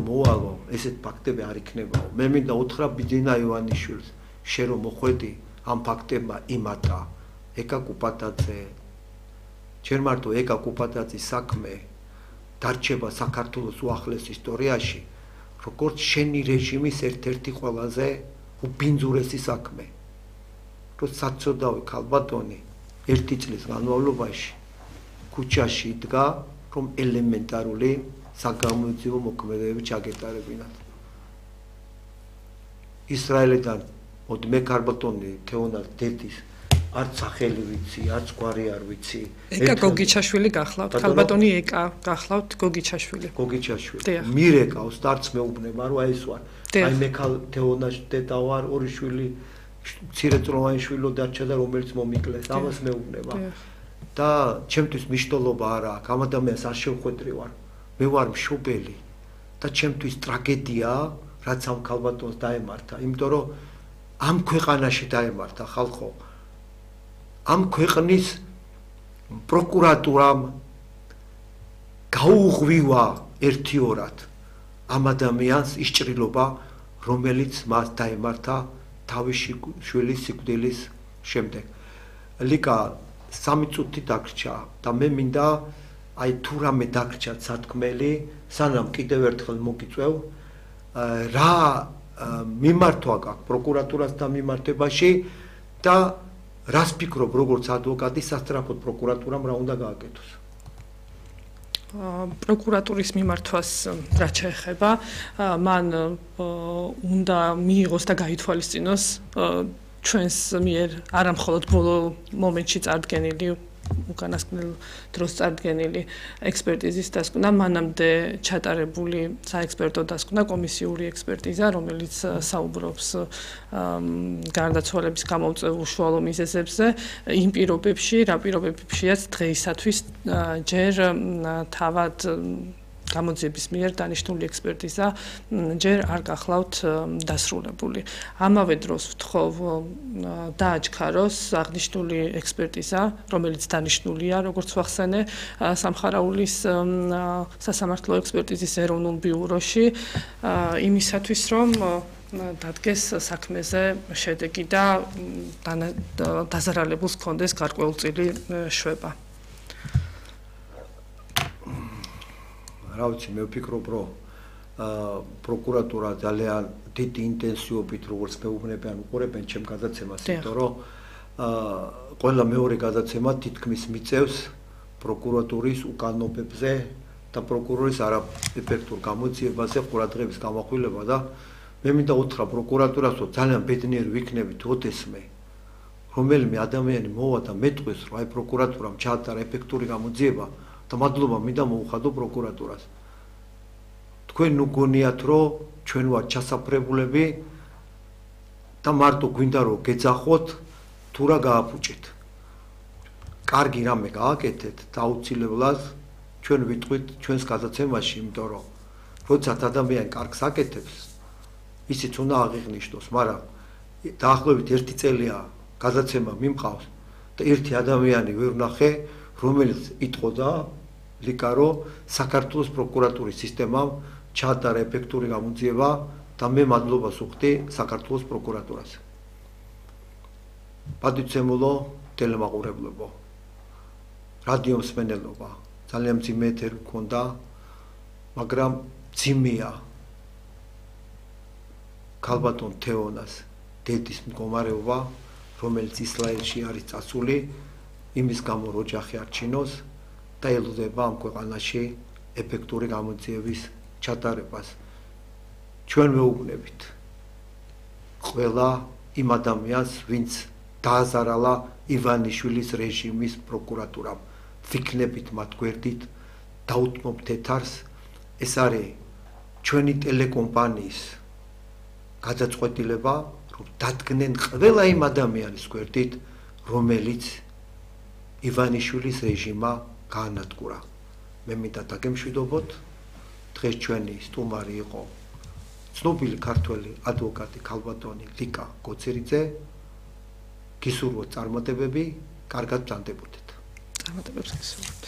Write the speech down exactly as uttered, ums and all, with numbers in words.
მოვალო, ესეთ ფაქტები არ იქნებაო. მე მინდა უთხრა ბიძინა ივანიშვილს, შენ რომ მოხვედი ამ ფაქტებმა იმატა, ეკა კუპატაძე. ჯერ მარტო ეკა კუპატაძის საქმე დარჩება საქართველოს უახლეს ისტორიაში, როგორც შენი რეჟიმის ერთ-ერთი ყველაზე უბინძურესი საქმე. რომ საცოდავი ქალბატონი ერთი წლის განმავლობაში ქუჩაში იდგა, რომ ელემენტარული საგამოძიებო მოქმედებები ჩაგეტარებინათ. ისრაელიდან მოდი მე ქალბატონი თეონას დედის არც სახელი ვიცი, არც გვარი არ ვიცი. ეკა გოგიჩაშვილი გახლავთ, ქალბატონი ეკა გახლავთ გოგიჩაშვილი. გოგიჩაშვილი. მირეკავს და არც მეუბნება, რომ აი ეს ვარ. აი მე ქალ თეონას დედა ვარ, ორი შვილი, მცირეწლოვანი შვილო დარჩა და რომელიც მომიკლეს, ამას მეუბნება. და ჩემთვის მნიშვნელობა არა აქვს, ამ ადამიანს არ შევხვედრი ვარ. მე ვარ მშობელი და ჩემთვის ტრაგედიაა, რაც ამ ქალბატონს დაემართა, იმიტომ რომ ამ ქვეყანაში დაემართა ხალხო. ამ ქვეყნის პროკურატურამ გაუღვივა ერთიორად ამ ადამიანს ის ჭრილობა, რომელიც მას დაემართა თავის შვილის სიკვდილის შემდეგ. ლიკა სამი წუთი დაგრჩა და მე მინდა აი თუ რამე დაგრჩათ სათქმელი, სანამ კიდევ ერთხელ მოგიწევ, რა მიმართვა გაქვს პროკურატურასთან მიმართებაში და რას ფიქრობ როგორც ადვოკატი სასწრაფოდ პროკურატურამ რა უნდა გააკეთოს? პროკურატურის მიმართვას რაც შეეხება, მან უნდა მიიღოს და გაითვალისწინოს ჩვენს მიერ არა მხოლოდ ბოლო მომენტში წარდგენილი უკანასკნელ დროს წარდგენილი ექსპერტიზის დასკვნა, მანამდე ჩატარებული საექსპერტო დასკვნა, კომისიური ექსპერტიზა, რომელიც საუბრობს გარდაცვალების გამომწვევ უშუალო მიზეზებზე, იმ პირობებში, რა პირობებშიაც დღეისათვის ჯერ თავად გამოძიების მიერ დანიშნული ექსპერტიზა ჯერ არ გახლავთ დასრულებული. ამავე დროს ვთხოვ დააჩქაროს აღნიშნული ექსპერტიზა, რომელიც დანიშნულია, როგორც ვახსენე, სამხარაულის სასამართლო ექსპერტიზის ეროვნულ ბიუროში, იმისათვის, რომ დადგეს საქმეზე შედეგი და დაზარალებულს ჰქონდეს გარკვეულწილი შვება. რა ვიცი, მე ვფიქრობ, რომ პროკურატურა ძალიან დიდი ინტენსივობით, როგორც მეუბნებიან, უყურებენ ჩემ გადაცემას, იმიტომ რომ ყველა მეორე გადაცემა თითქმის მიწევს პროკურატურის უკანობებზე და პროკურორის არაეფექტურ გამოძიებაზე ყურადღების გამახვილება და მე მინდა უთხრა პროკურატურას, რომ ძალიან ბედნიერი ვიქნებით ოდესმე, რომელიმე ადამიანი მოვა და მეტყვის, რომ აი პროკურატურამ ჩაატარა ეფექტური გამოძიება და მადლობა მინდა მოუხადო პროკურატურას. თქვენ ნუ გონიათ, რომ ჩვენ ვართ ჩასაფრებულები და მარტო გვინდა რომ გეძახოთ თუ რა გააფუჭეთ. კარგი რამე გააკეთეთ და აუცილებლად ჩვენ ვიტყვით ჩვენს გადაცემაში, იმიტომ რომ როდესაც ადამიანი კარგს აკეთებს, ისიც უნდა აღიღვნიშნოს, მაგრამ დაახლოებით ერთი წელია გადაცემა მიმყავს და ერთი ადამიანი ვერ ვნახე, რომელიც იტყოდა ლიკა, რომ საქართველოს პროკურატურის სისტემამ ჩაატარა ეფექტური გამოძიება და მე მადლობას ვუხდი საქართველოს პროკურატურას. პატივცემულო ტელემაყურებლებო, რადიო მსმენელობა, ძალიან მძიმე ეთერი გქონდა, მაგრამ მძიმეა ქალბატონ თეონას დედის მდგომარეობა, რომელიც ისრაელში არის წასული, იმის გამო რომ ოჯახი არ ჩინოს და ელოდება ამ ქვეყანაში ეფექტური გამოძიების ჩატარებას. ჩვენ ვეუბნებით ყველა იმ ადამიანს, ვინც დააზარალა ივანიშვილის რეჟიმის პროკურატურამ, ვიქნებით მათ გვერდით, დაუთმობთ ეთარს, ეს არის ჩვენი ტელეკომპანიის გადაწყვეტილება, რომ დადგნენ ყველა იმ ადამიანის გვერდით, რომელიც ივანიშვილის რეჟიმა გაანადგურა. მე მინდა დაგემშვიდობოთ, დღეს ჩვენი სტუმარი იყო ცნობილი ქართველი ადვოკატი ქალბატონი ლიკა გოცერიძე. გისურვოთ წარმატებები, კარგად ბრძანდებოდეთ. წარმატებებს გისურვოთ.